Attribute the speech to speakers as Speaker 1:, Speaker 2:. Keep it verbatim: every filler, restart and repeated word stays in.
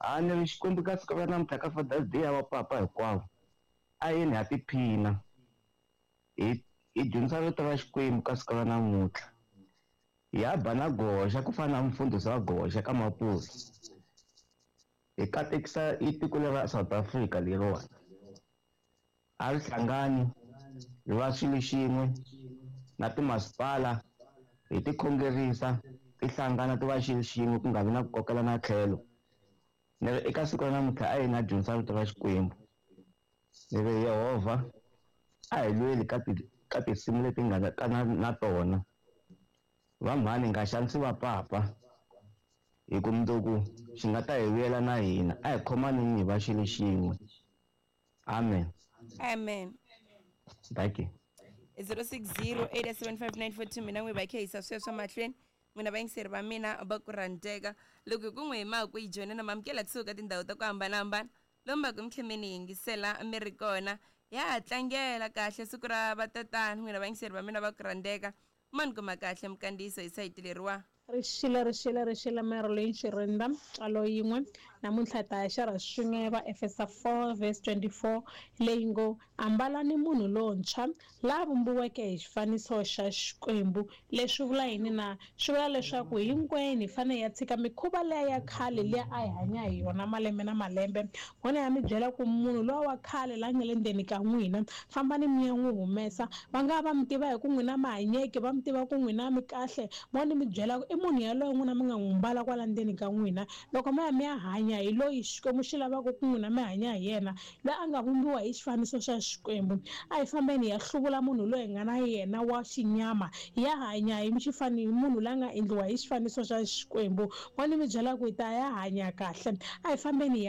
Speaker 1: A ni ri Xikwembu ka siku ra namuntlha ka Father's Day ya vapapa hinkwavo a yeni ha tiphina hi hi dyondzisa rito ra Xikwembu ka siku ra namuntlha hi ya ba na goxa ku fana na mufundhisi wa goxa ka Mapusa hi katekisa i tiko lera South Africa leriwani a ri hlangani hi va xilo xin'we na timasipala hi ti khongerisa ti hlangana ti va xilo xin'we ku nga vi na ku kokela na tlhelo ni ri eka siku ra namuntlha a yi na dyondzisa rito ra Xikwembu ni ri Yehovha a hi lweli ka ti ka tinsimu leti nga ka na, na tona va mhani nga xanisi va papa hi ku mundzuku xi nga ta hi vuyela na hina a hi khomanini hi va xilo xin'we amen
Speaker 2: amen
Speaker 1: thank you
Speaker 2: zero six zero eight seven five nine four two mina n'wi va khe yisa sweswo mahlweni n'wina vayingiseri va mina va ku rhandzeka loko hi ku n'wi hi maku yi joyina na mamukela kusuka tindhawu ta ku hambanahambana lomu va ku mi tlhe mi ni yingisela mi ri kona ya ha tlangela kahle siku ra vatatana n'wina vayingiseri va mina va ku rhandzeka ma ni kuma kahle mikandziyiso hi sayiti leriwa
Speaker 3: Rixile rixile rixile Marilyn Xirinda ntswalo yin'we namuntlha hi ta ya xerha swin'we va Efesa four verse twenty-four leyi ngo ambalani munhu lontshwa la vumbiweke hi xifaniso xa Xikwembu. Leswi vula yini na? Swi vula leswaku hinkwenu hi fanele hi ya tshika mikhuva liya ya khale liya a hi hanya hi yona malembe na malembe. N'wina ya mi byela ku munhu luwa wa khale la nga le ndzeni ka n'wina fambani mi ya n'wi humesa. Va nga va mi tiva hi ku n'wina mi hanyeke, va mi tiva ku n'wina mi kahle, mo ni mi byela ku i munhu yaloye n'wina mi nga n'wi mbala kwala ndzeni ka n'wina. Loko mi ya mi ya hanya hi loyi Xikwembu xi lavaka ku n'wina mi hanya hi yena, loyi a nga vumbiwa hi xifaniso xa Xikwembu. A hi fambeni hi ya hluvula munhu loyi hi nga na yena wa xinyama, hi ya hanya hi xifani hi munhu loyi a nga endliwa hi xifaniso xa Xikwembu. Mo ni mi byela ku hi ta ya hanya kahle, a hi fambeni hi ya